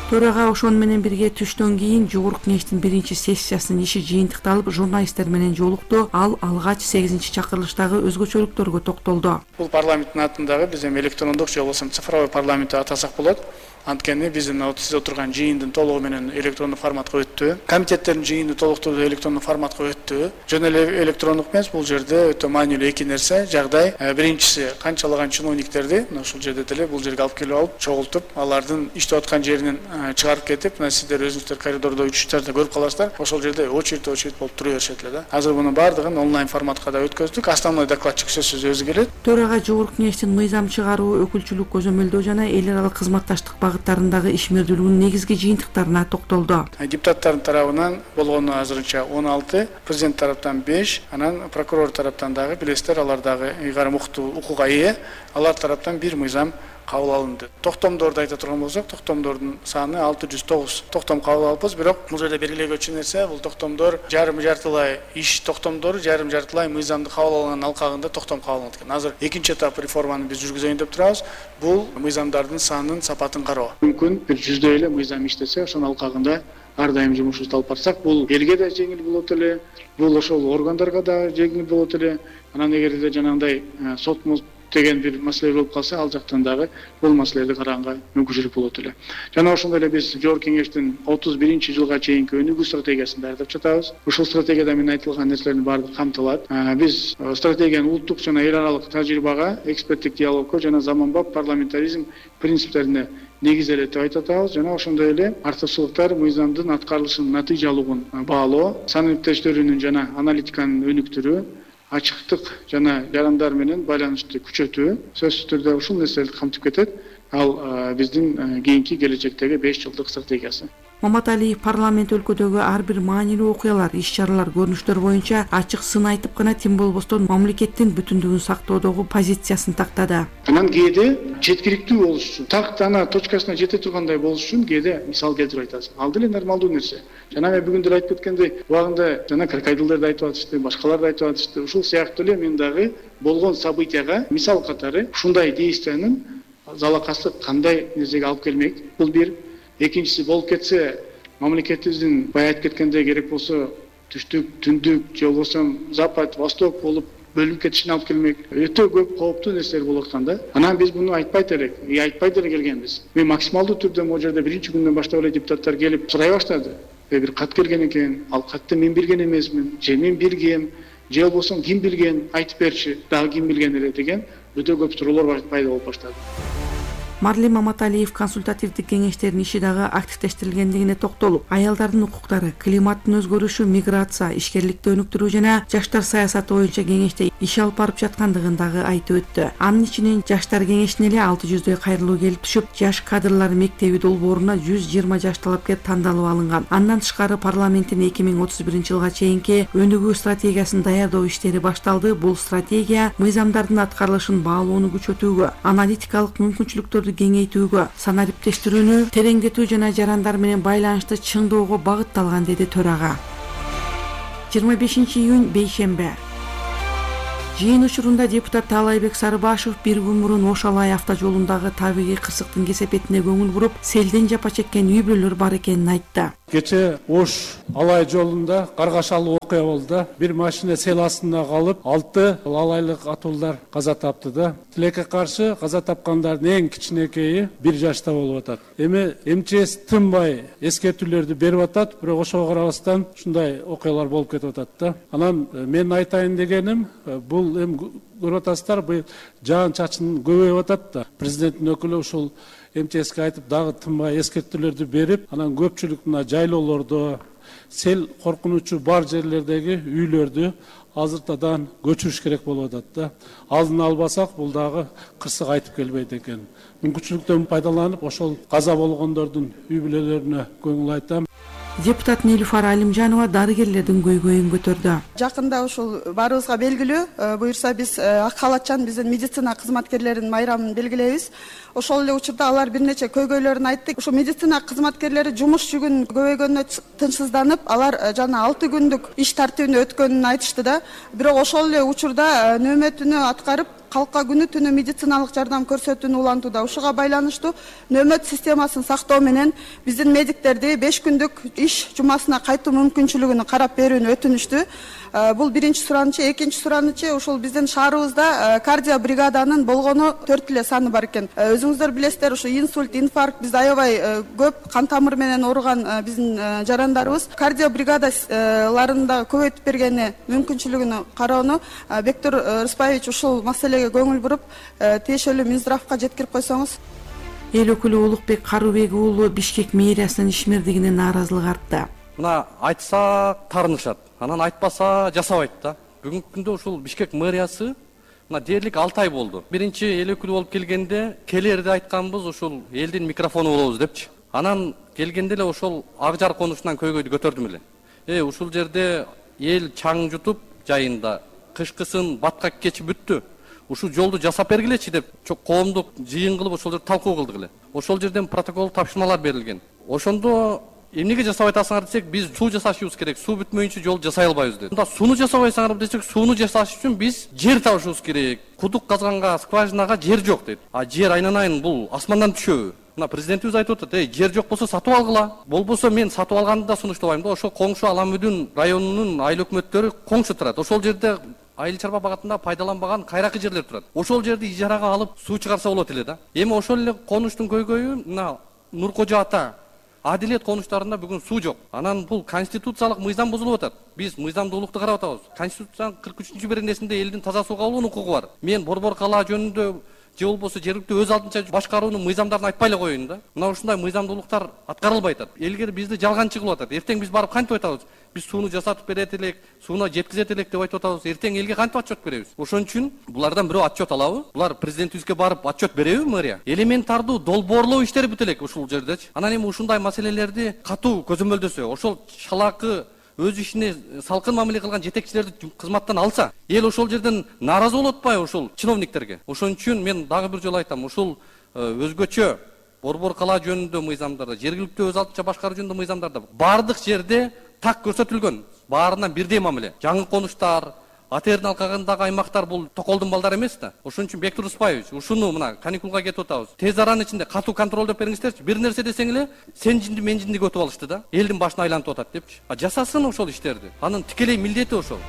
Төрага ошону менен бирге түштөн кийин жогорку кеңештин биринчи сессиясынын иши жыйынтыкталып, журналисттер менен жолукту. Ал алгач 8-чакырылыштагы өзгөчөлүктөргө токтолду. Бул парламенттин атындагы биз эми электрондук же болбосо цифровой парламент деп атасак болот. Анткени биздин сиз отурган жыйындын толугу менен электрондук форматка өттү. Комитеттердин жыйыны толуктуу электрондук форматка өттү. Жөн эле электрондук эмес, бул жерде өтө маанилүү эки нерсе. Жагдай биринчиси канчалаган чиновниктерди ошол жерде деле бул жерге алып келип алып, чогултуп, алардын иштеп аткан жеринен чыгарып кетип, мына сиздер өзүңүздөр коридордо учуштарда көрүп каласыздар. Ошол жерде очередь болуп тура беришет эле да. Азыр мунун баардыгын онлайн форматка да өткөздүк. Основной докладчик сөзсүз өзү келет. Төрага жогорку кеңештин мыйзам чыгаруу, өкүлчүлүк көзөмөлдөө жана эл аралык кызматташтык багыттарындагы ишмердүүлүгүнүн негизги жыйынтыктарына токтолду. Депутаттардын тарабынан болгону азырынча 16, президент тараптан 5, анан прокурор тараптан дагы билесиздер, алар дагы ыйгарым укугга ээ, алар тараптан бир мыйзам кабыл алынды. Токтомдорду айта турган болсок, токтомдордун саны 609 токтом кабыл алыппыз, бирок бул жерде белгилегөчү нерсе, бул токтомдор жарым-жартылай иш токтомдору, жарым-жартылай мыйзамды кабыл алган алкагында токтом кабыл алынат экен. Азыр экинчи этап реформаны биз жүргүзөйүн деп турабыз. Бул мыйзамдардын санын, сапатын кароо. Мүмкүн бир 100 эле мыйзам иштесе, ошонун алкагында ар дайым жумушубузду алып барсак, бул элге да жеңил болот эле, бул ошол органдарга да жеңил болот эле. Анан эгерде жанагындай сот деген бир маселе болуп калса, ал жактан дагы бул маселелерди караганга мүмкүнчүлүк болот эле. Жана ошондой эле биз жогорку кеңештин 31-жылга чейинки өнүгүү стратегиясын даярдап жатабыз. Ушул стратегияда мен айтылган нерселердин баардыгы камтылат. Биз стратегияны улуттук жана эл аралык тажрыйбага, эксперттик диалогко жана заманбап парламентаризм принциптерине негизделет деп айтып атабыз. Жана ошондой эле артыкчылыктар мыйзамдын аткарылышынын натыйжалуулугун баалоо, санариптештөрүнүн жана аналитиканын өнүктүрүү, ачыктык жана жарандар менен байланышты күчөтүү сөзсүз түрдө ушул нерселерди камтып кетет. Ал биздин кийинки келечектеги 5 жылдык стратегиясы. Маматалиев парламент өлкөдөгү ар бир маанилүү окуялар, иш-чаралар, көрүнүштөр боюнча ачык сын айтып гана тим болбостон мамлекеттин бүтүндүгүн сактоодогу позициясын тактады. Анан кээде жеткиликтүү болуш үчүн, тактана точкасына жете тургандай болуш үчүн кээде мисал келтирип айтасың. Ал деле нормалдуу нерсе. Жана мен бүгүн деле айтып кеткендей, убагында жана крокодилдерди айтып атышты, башкаларды айтып атышты. Ушул сыяктуу эле мен дагы болгон событияга мисал катары ушундай действиянын залакасы кандай нерсеге алып келмек. Бул бир. Экинчиси, болуп кетсе, мамлекетибиздин бая айтып кеткендей керек болсо түштүк, түндүк же болбосо запад, восток болуп бөлүнүп кетишине алып келмек. Өтө көп кооптуу нерселер болуп аткан да. Анан биз муну айтпайт элек, айтпай деле келгенбиз. Мен максималдуу түрдө могу жерде биринчи күндөн баштап эле депутаттар келип сурай баштады. Бир кат келген экен, ал катты мен билген эмесмин, же мен билгем, же болбосо ким билген, айтып берчи, дагы ким билген эле деген өтө көп суроолор пайда болуп баштады. Марлен Маматалиев консультативдик кеңештердин иши дагы активдештирилгендигине токтолуп, аялдардын укуктары, климаттын өзгөрүшү, миграция, ишкерликти өнүктүрүү жана жаштар саясаты боюнча кеңеште иш алып барып жаткандыгын дагы айтып өттү. Анын ичинен жаштар кеңешине эле 600дөй кайрылуу келип түшүп, жаш кадрлар мектеби долбооруна 120 жаш талапкер тандалып алынган. Андан тышкары парламенттин 2031-жылга чейинки өнүгүү стратегиясын даярдоо иштери башталды. Бул стратегия мыйзамдардын аткарылышын баалоону күчөтүүгө, аналитикалык мүмкүнчүлүктөрдү кеңейтүүгө, санариптештирүүнү тереңдетүү жана жарандар менен байланышты чыңдоого багытталган, деди төрага. 25-июнь бейшембе. Жыйын учурунда депутат Таалайбек Сарыбашев бир күн мурун Ош Алай автожолундагы табигый кырсыктын кесепетине көңүл буруп, селден жапа чеккен үй бүлөлөр бар экенин айтты. Кече Ош Алай жолунда каргашалуу окуя болду. Бир машина сел астында калып, 6 алайлык атуулдар каза тапты да. Тилекке каршы каза тапкандардын эң кичинекейи 1 жашта болуп атат. Эми МЧС тынбай эскертүүлөрдү берип атат, бирок ошого карабастан ушундай окуялар болуп кетип атат да. Анан мен айтайын дегеним, бул эми көрүп атасыздар, бул жаан чачын көбөйүп атат да. Президенттин өкүлү ушул МЧСке айтып дагы тынбай эскертүүлөрдү берип, анан көпчүлүк мына жайлоолордо, сел коркунучу бар жерлердеги үйлөрдү азыртадан көчүрүш керек болуп атат да. Алдын албасак, бул дагы кырсык айтып келбейт экен. Мүмкүнчүлүктөн пайдаланып, ошол каза болгондордун үй бүлөлөрүнө көңүл айтам. Депутат Нилуфар Алимжанова дарыгерлердин көйгөйүн көтөрдү. Жакында ушул баарыбызга белгилүү, буюрса биз ак халатчан биздин медицина кызматкерлеринин майрамын белгилейбиз. Ошол эле учурда алар бир нече көйгөйлөрүн айтты. Ушул медицина кызматкерлери жумуш жүгүн көбөйгөнүнө тынчсызданып, алар жана 6 күндүк иш тартибине өткөнүн айтышты да. Бирок ошол эле учурда нөөмөтүнө аткарып, калка күнү түнү медициналык жардам көрсөтүүнү улантууда. Ушуга байланыштуу нөөмөт системасын сактоо менен биздин медиктерди 5 күндүк иш жумасына кайтуу мүмкүнчүлүгүн карап берүүнү өтүнүштү. Бул биринчи суранычы. Экинчи суранычы, ушул биздин шаарыбызда кардио бригаданын болгону 4 эле саны бар экен. Өзүңүздөр билесиздер, ушу инсульт, инфаркт бизде аябай көп кан тамыр менен ооруган биздин жарандарыбыз. Кардио бригадаларында көбөйтүп бергени мүмкүнчүлүгүн кароону Бектур Рыспаевич ушул маселеге көңүл буруп, тиешелүү Минздравга жеткирип койсоңуз. Эл өкүлү Улукбек Карубек уулу Бишкек мэриясынын ишмердигине нааразылык артты. Мына айтсак тарнышат, анан айтпаса жасабайт да. Бүгүнкү күндө ушул Бишкек мэриясы мына дээрлик 6 ай болду. Биринчи эл өкүлү болуп келгенде келерде айтканбыз ушул элдин микрофону болобуз депчи. Анан келгенде эле ошол ак жар конушунан көйгөйдү көтөрдүм эле. Ушул жерде эл чаң жутуп жайында кышкысын баткак кечип бүттү. Ушул жолду жасап бергилечи деп коомдук жыйын кылып ошол жерде талкуу кылдык эле. Ошол жерден протокол тапшырмалар берилген. Ошондо эмнеге жасабай атасыңар десек, биз суу жасашыбыз керек, суу бүтмөйүнчө жол жасай албайбыз деди. Мында сууну жасабайсыңар десек, сууну жасаш үчүн биз жер табышыбыз керек. Кудук казганга, скважинага жер жок дейт. А жер айнанайын бул асмандан түшөбү? Мына президентибиз айтып атат, жер жок болсо сатып алгыла. Болбосо мен сатып алганды да сунуштабайм да. Ошо коңшу Аламүдүн районунун айыл өкмөттөрү коңшу турат. Ошол жерде айыл чарба багатында пайдаланбаган кайракы жерлер турат. Ошол жерди ижарага алып суу чыгарса болот эле да. Эми ошол эле конуштун көйгөйү мына Нуркожо ата Адилет конуштарында бүгүн суу жок. Анан бул конституциялык мыйзам бузулуп атат. Биз мыйзамдуулукту карап атабыз. Конституциянын 43-беренесинде элдин таза сууга алуунун укугу бар. Мен борбор калаа жөнүндө же болбосо жергиликтүү өз алдынча башкаруунун мыйзамдарын айтпай эле коеюн да. Мына ушундай мыйзамдуулуктар аткарылбай атат. Элге бизди жалганчы кылып атат. Эртең биз барып кантип айтабыз? Биз сууну жасатып берет элек, сууна жеткизет элек деп айтып атабыз. Эртең элге кантип отчет беребиз? Ошон үчүн булардан бирөө отчет алабы? Булар президентибизге барып отчет береби мэрия? Элементардуу долбоорлоо иштери бүт элек ушул жердечи. Анан эми ушундай маселелерди катуу көзөмөлдөсө, ошол шалаакы өз ишине салкын мамиле кылган жетекчилерди кызматтан алса, эл ошол жерден нааразы болуп атпайбы ушул чиновниктерге? Ошон үчүн мен дагы бир жолу айтам, ушул өзгөчө борбор калаа жөнүндө мыйзамдарда, жергиликтүү өз алдынча башкаруу жөнүндө мыйзамдарда баардык жерде так көрсөтүлгөн. Баарынан бирдей мамиле. Жаңы конуштар, АТРдин алкагындагы аймактар бул токолдун балдары эмес да. Ошон үчүн Бектур Рыспаевич, ушуну мына каникулга кетип атабыз. Тез аранын ичинде катуу контролдоп бериңиздерчи. Бир нерсе десең эле сен жинди мен жиндиге өтүп алышты да. Элдин башына айланып атат депчи. Жасасын ошол иштерди. Анын тикелей милдети ошол.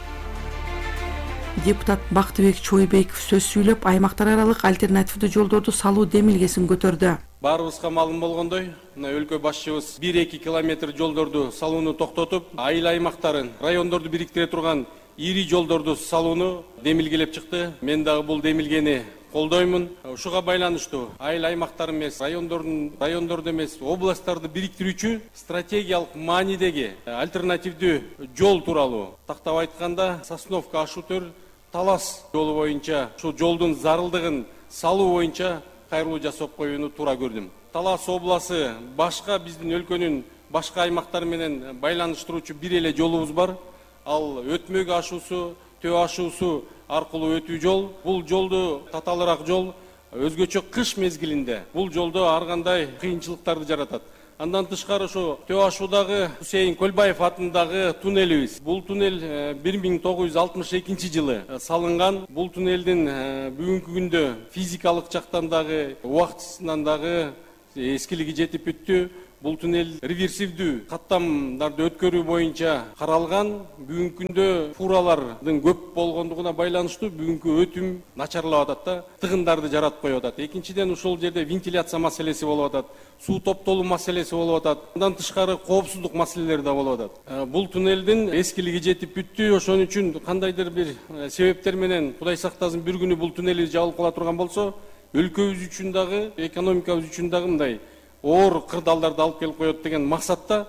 Депутат Бактыбек Чойбеков сөз сүйлөп, аймактар аралык альтернативдүү жолдорду салуу демилгесин көтөрдү. Баарыбызга маалым болгондой, мына өлкө башчыбыз 1-2 километр жолдорду салууну токтотуп, айыл аймактарын, райондорду бириктире турган ири жолдорду салууну демилгелеп чыкты. Мен дагы бул демилгени колдоймун. Ушуга байланыштуу айыл аймактар эмес, райондорду эмес, областтарды бириктирүүчү стратегиялык маанидеги альтернативдүү жол тууралуу тактап айтканда Сосновка Ашутөр Талас жолу боюнча ушул жолдун зарылдыгын салуу боюнча кайрылуу жасап коюуну туура көрдүм. Талас обласы башка биздин өлкөнүн башка аймактары менен байланыштыруучу бир эле жолубуз бар. Ал Өтмөк ашуусу, Төө ашуусу аркылуу өтүү жол. Бул жолду татаалыраак жол. Өзгөчө кыш мезгилинде бул жолдо ар кандай кыйынчылыктарды жаратат. Андан тышкары ушу Төө ашуудагы Хусейин Көлбаев атындагы туннелибиз. Бул туннель 1962 жылы салынган. Бул туннелдин бүгүнкү күндө физикалык жактан дагы, убактысынан дагы эскилиги жетип бүттү. Бул туннель реверсивдүү каттамдарды өткөрүү боюнча каралган. Бүгүнкү күндө фуралардын көп болгондугуна байланыштуу бүгүнкү өтүм начарлап атат да, тыгындарды жаратып коюп атат. Экинчиден ушул жерде вентиляция маселеси болуп атат, суу топтолуу маселеси болуп атат. Андан тышкары коопсуздук маселелери да болуп атат. Бул туннелдин эскилиги жетип бүттү. Ошон үчүн кандайдыр бир себептер менен Кудай сактасын бир күнү бул туннели жабылып кала турган болсо, өлкөбүз үчүн дагы, экономикабыз үчүн дагы мындай оор кырдаалдарды алып келип коет деген максатта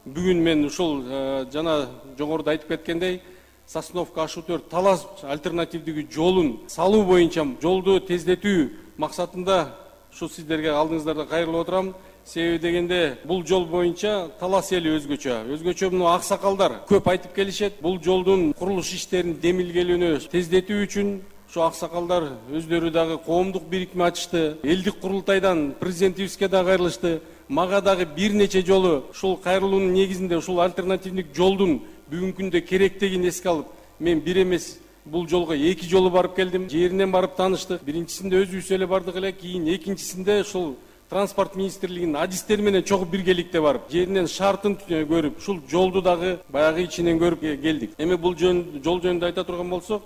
бүгүн мен ушул жана жогоруда айтып кеткендей Сосновка Ашутөр Талас альтернативдүү жолун салуу боюнча жолду тездетүү максатында ушу сиздерге алдыңыздарда кайрылып отурам. Себеби дегенде бул жол боюнча Талас эли өзгөчө мына аксакалдар көп айтып келишет. Бул жолдун курулуш иштерин демилгелүүнү тездетүү үчүн ушу аксакалдар өздөрү дагы коомдук бирикме ачышты. Элдик курултайдан президентибизге да кайрылышты. Мага дагы бир нече жолу ушул кайрылуунун негизинде ушул альтернативдик жолдун бүгүнкү күндө керектигин эске алып, мен бир эмес бул жолго 2 жолу барып келдим. Жеринен барып тааныштык. Биринчисинде өзүбүз эле бардык эле, кийин экинчисинде ушул транспорт министрлигинин адистери менен чогуу биргеликте барып, жеринен шартын көрүп, ушул жолду дагы баягы ичинен көрүп келдик. Эми бул жол жөнүндө айта турган болсок,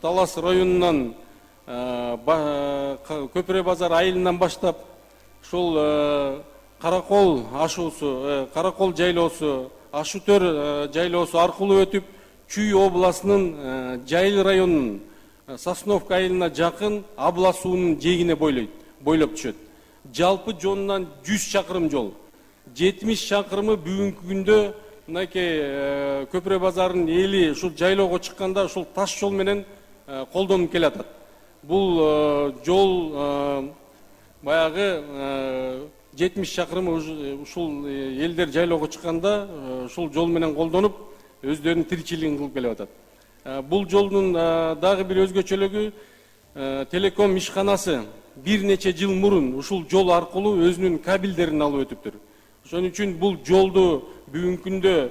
Талас районунан Көпүрө базар айылынан баштап ушул Каракол ашуусу, Каракол жайлоосу, Ашутөр жайлоосу аркылуу өтүп, Чүй областынын Жайыл районунун Сосновка айылына жакын Абла суунун жээгине бойлоп түшөт. Жалпы жонунан 100 чакырым жол. 70 чакырымы бүгүнкү күндө мынакей Көпүрө базарынын эли ушул жайлоого чыкканда ушул таш жол менен колдонуп келатат. Бул жол баягы 70 чакырымы ушул элдер жайлоого чыкканда ушул жол менен колдонуп өздөрүнүн тиричилигин кылып келип атат. Бул жолдун дагы бир өзгөчөлүгү телеком ишканасы бир нече жыл мурун ушул жол аркылуу өзүнүн кабелдерин алып өтүптүр. Ошон үчүн бул жолду бүгүнкү күндө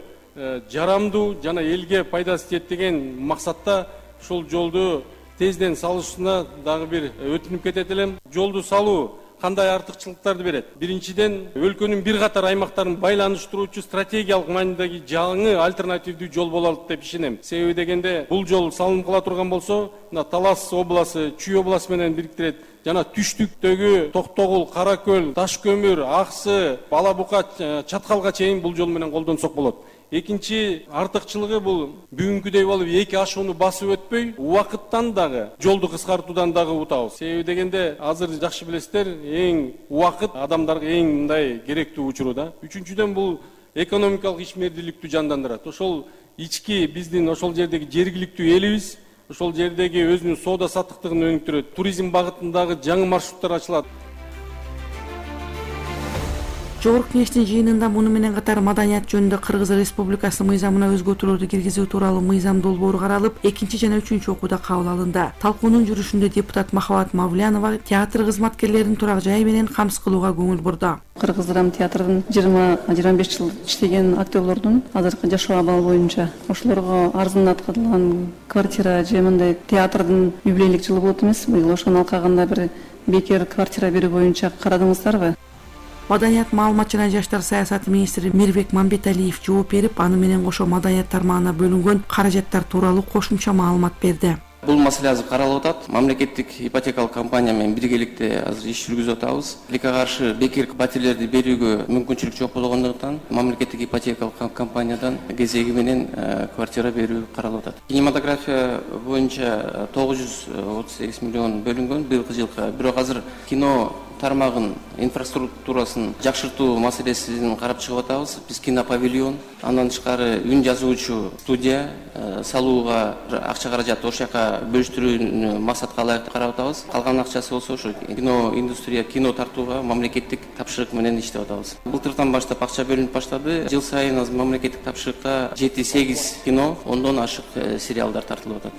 жарамдуу жана элге пайдасы тиет деген максатта ушул жолду тезден салышына дагы бир өтүнүп кетет элем. Жолду салуу кандай артыкчылыктарды берет? Биринчиден, өлкөнүн бир катар аймактарын байланыштыруучу стратегиялык маанидеги жаңы альтернативдүү жол болот деп ишенем. Себеби дегенде бул жол салынып кала турган болсо, Талас обласы, Чүй обласы менен бириктирет. Жана түштүктөгү Токтогул, Каракөл, Ташкөмүр, Аксы, Бала Бука, Чаткалга чейин бул жол менен колдонсок болот. Экинчи артыкчылыгы бул бүгүнкүдөй болуп 2 ашууну басып өтпөй, убакыттан дагы, жолду кыскартуудан дагы утабыз. Себеби дегенде азыр жакшы билесиздер, эң убакыт адамдарга эң мындай керектүү учуру да. Үчүнчүдөн бул экономикалык ишмердүүлүктү жандандырат. Ошол ички биздин ошол жердеги жергиликтүү элибиз ошол жердеги өзүнүн соода саттыктыгын өнүктүрөт. Туризм багытындагы жаңы маршруттар ачылат. Жогорку кеңештин жыйынында муну менен катар маданият жөнүндө Кыргыз Республикасы мыйзамына өзгөртүүлөрдү киргизүү тууралуу мыйзам долбоору каралып, 2 жана 3 окууда кабыл алынды. Талкуунун жүрүшүндө депутат Махабат Мавлянова театр кызматкерлерин турак жай менен камсыз кылууга көңүл бурду. Кыргыз драма театрдын 20-25 жыл иштеген актерлордун азыркы жашоо абалы боюнча ошолорго арзандаткылган квартира же мындай театрдын юбилейлик жылы болот эмес, быйыл ошонун алкагында бир бекер квартира берүү боюнча карадыңыздарбы? Маданият, маалымат жана жаштар саясаты министри Мирбек Мамбеталиев жооп берип, аны менен кошо маданият тармагына бөлүнгөн каражаттар тууралуу кошумча маалымат берди. Бул маселе азыр каралып атат. Мамлекеттик ипотекалык компания менен биргеликте азыр иш жүргүзүп атабыз. Тилекке каршы бекер батирлерди берүүгө мүмкүнчүлүк жок болгондуктан мамлекеттик ипотекалык компаниядан кезеги менен квартира берүү каралып атат. Кинематография боюнча 938 миллион бөлүнгөн быйылкы жылга. Бирок азыр кино тармагын инфраструктурасын жакшыртуу маселесин карап чыгып атабыз. Биз кинопавильон, андан тышкары үн жазуучу студия салууга акча каражат ошол жака бөлүштүрүүнү максатка ылайыктуу карап атабыз. Калган акчасы болсо ошо кино индустрия, кино тартууга мамлекеттик тапшырык менен иштеп атабыз. Былтырдан баштап акча бөлүнүп баштады. Жыл сайын азыр мамлекеттик тапшырыкка 7-8 кино, 10дон ашык сериалдар тартылып атат.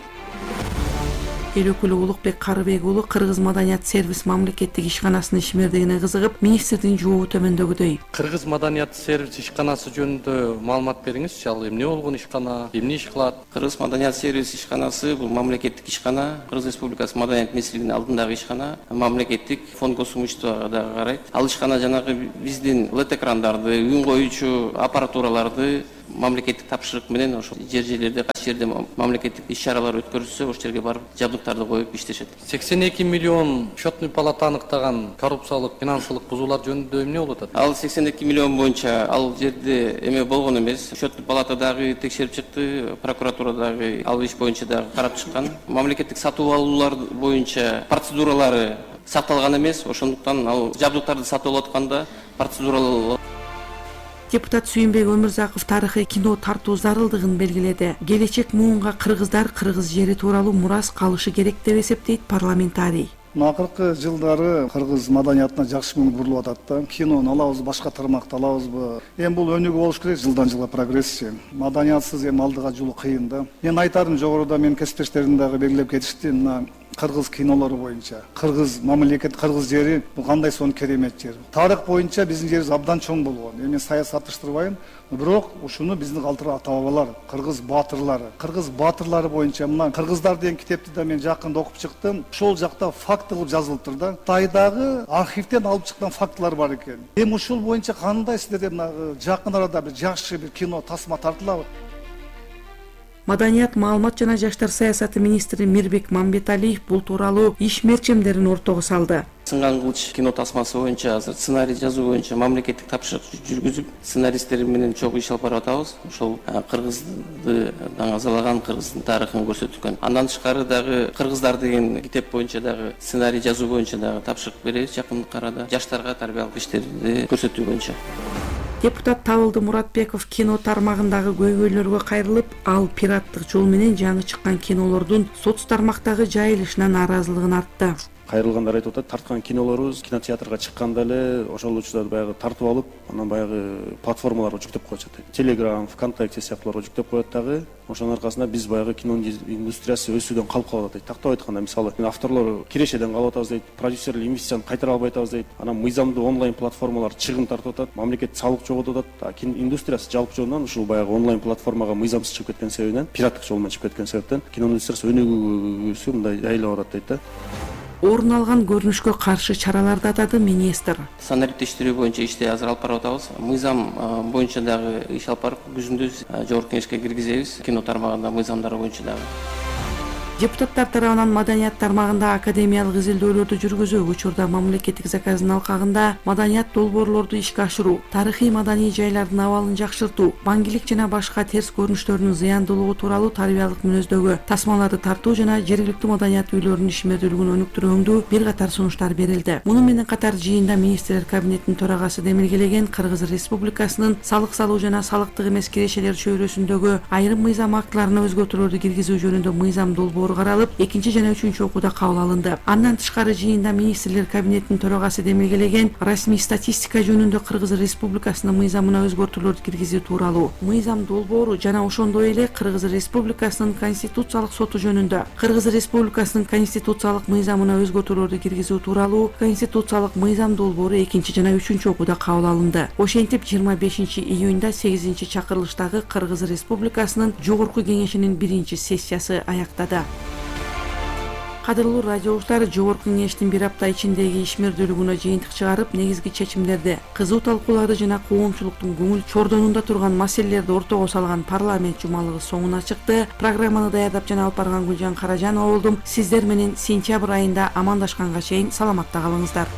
Эл өкүлү Улукбек Карыбек уулу Кыргыз маданият сервис мамлекеттик ишканасынын ишмердигине кызыгып, министрдин жообу төмөндөгүдөй. Кыргыз маданият сервис ишканасы жөнүндө маалымат бериңизчи. Ал эмне болгон ишкана, эмне иш кылат? Кыргыз маданият сервис ишканасы бул мамлекеттик ишкана, Кыргыз Республикасы маданият министрлигинин алдындагы ишкана, мамлекеттик фонд госимуществого дагы карайт. Ал ишкана жанагы биздин LED экрандарды, үн коюучу аппаратураларды мамлекеттик тапшырык менен ошол жерлерде, кайсы жерде мамлекеттик иш-чаралар өткөрүлсө, ошол жерге барып жабдыктарды коюп иштешет. 82 миллион счетный палата аныктаган коррупциялык, финансылык бузуулар жөнүндө эмне болуп атат? Ал 82 миллион боюнча ал жерде эме болгон эмес. Счетный палата дагы текшерип чыкты, прокуратура дагы ал иш боюнча дагы карап чыккан. Мамлекеттик сатып алуулар боюнча процедуралары сакталган эмес. Ошондуктан ал жабдыктарды сатып алып атканда процедуралар. Депутат Сүйүнбек Өмүрзаков тарыхый кино тартуу зарылдыгын белгиледи. Келечек муунга кыргыздар кыргыз жери тууралуу мурас калышы керек деп эсептейт парламентарий. Акыркы жылдары кыргыз маданиятына жакшы көңүл бурулуп атат да. Кинону алабызбы, башка тармакты алабызбы? Эми бул өнүгүү болуш керек, жылдан жылга прогрессия. Маданиятсыз эми алдыга жолу кыйын да. Мен айтарым, жогоруда менин кесиптештерим дагы белгилеп кетишти. Мына кыргыз кинолору боюнча кыргыз мамлекет, кыргыз жери бул кандай сонун керемет жер. Тарых боюнча биздин жерибиз абдан чоң болгон. Эми саясатташтырбайм, бирок ушуну биздин калтыры ата-бабалар, кыргыз баатырлары боюнча мына кыргыздар деген китепти да мен жакында окуп чыктым. Ошол жакта факт кылып жазылыптыр да. Кытайдагы архивден алып чыккан фактылар бар экен. Эми ушул боюнча кандай сиздерде мына жакын арада бир жакшы бир кино тасма тартылабы? Маданият, маалымат жана жаштар саясаты министри Мирбек Мамбеталиев бул тууралуу иш мерчемдерин ортого салды. Сынган кылыч кино тасмасы боюнча азыр сценарий жазуу боюнча мамлекеттик тапшырык жүргүзүп, сценаристтер менен чогуу иш алып барып атабыз. Ошол кыргызды даңазалаган, кыргыздын тарыхын көрсөткөн. Андан тышкары дагы кыргыздар деген китеп боюнча дагы сценарий жазуу боюнча дагы тапшырык беребиз жакын арада. Жаштарга тарбиялык иштерди көрсөтүү боюнча. Депутат Табылды Муратбеков кино тармагындагы көйгөйлөргө кайрылып, ал пираттык жол менен жаңы чыккан кинолордун соц тармактагы жайылышына нааразылыгын артты. Кайрылгандар айтып атат, тарткан кинолорубуз кинотеатрга чыкканда эле ошол учурда баягы тартып алып, анан баягы платформаларга жүктөп коюшат. Telegram, ВКонтакте сыяктууларга жүктөп коет дагы. Ошонун аркасында биз баягы кино индустриясы өсүүдөн калып калып атат. Тактап айтканда, мисалы, авторлор кирешеден калып атабыз дейт, продюсерлер инвестицияны кайтара албай атабыз дейт. Анан мыйзамдуу онлайн платформалар чыгым тартып атат, мамлекет салык жоготуп атат. Кино индустриясы жалпы жолунан ушул баягы онлайн платформага мыйзамсыз чыгып кеткен себебинен, пираттык жол менен чыгып кеткен себептен кино индустриясы өнүгүүсү мындай жайлап атат дейт да. Орун алган көрүнүшкө каршы чараларды атады министр. Санариптештирүү боюнча ишти азыр алып барып атабыз. Мыйзам боюнча дагы иш алып барып, күзүндө жогорку кеңешке киргизебиз. Кино тармагында мыйзамдар боюнча дагы. Депутаттар тарабынан маданият тармагында академиялык изилдөөлөрдү жүргүзүү, учурда мамлекеттик заказдын алкагында маданият долбоорлорду ишке ашыруу, тарыхый маданий жайлардын абалын жакшыртуу, баңгилик жана башка терс көрүнүштөрдүн зыяндуулугу тууралуу тарбиялык мүнөздөгү тасмаларды тартуу жана жергиликтүү маданият үйлөрүнүн ишмердүүлүгүн өнүктүрүүндүү бир катар сунуштар берилди. Муну менен катар жыйында министрлер кабинетинин төрагасы демилгелеген Кыргыз Республикасынын салык салуу жана салыктык эмес кирешелер чөйрөсүндөгү айрым мыйзам актыларына өзгөртүүлөрдү киргизүү жөнүндө мыйзам долбоору каралып, 2 жана 3 окууда кабыл алынды. Андан тышкары жыйында министрлер кабинетинин төрагасы демилгелеген расмий статистика жөнүндө Кыргыз Республикасынын мыйзамына өзгөртүүлөрдү киргизүү тууралуу мыйзам долбоору жана ошондой эле Кыргыз Республикасынын конституциялык соту жөнүндө Кыргыз Республикасынын конституциялык мыйзамына өзгөртүүлөрдү киргизүү тууралуу конституциялык мыйзам долбоору 2 жана 3 окууда кабыл алынды. Ошентип 25 июнда 8 чакырылыштагы Кыргыз Республикасынын жогорку кеңешинин 1 сессиясы аяктады. Кадырлуу радио угуштар, Жогорку Кеңештин бир апта ичиндеги ишмердүүлүгүнө жыйынтык чыгарып, негизги чечимдерди, кызуу талкууларды жана коомчулуктун көңүл чордонунда турган маселелерди ортого салган парламент жумалыгы соңуна чыкты. Программаны даярдап жана алып барган Гүлжан Каражанова болдум. Сиздер менен сентябрь айында амандашканга чейин саламатта калыңыздар.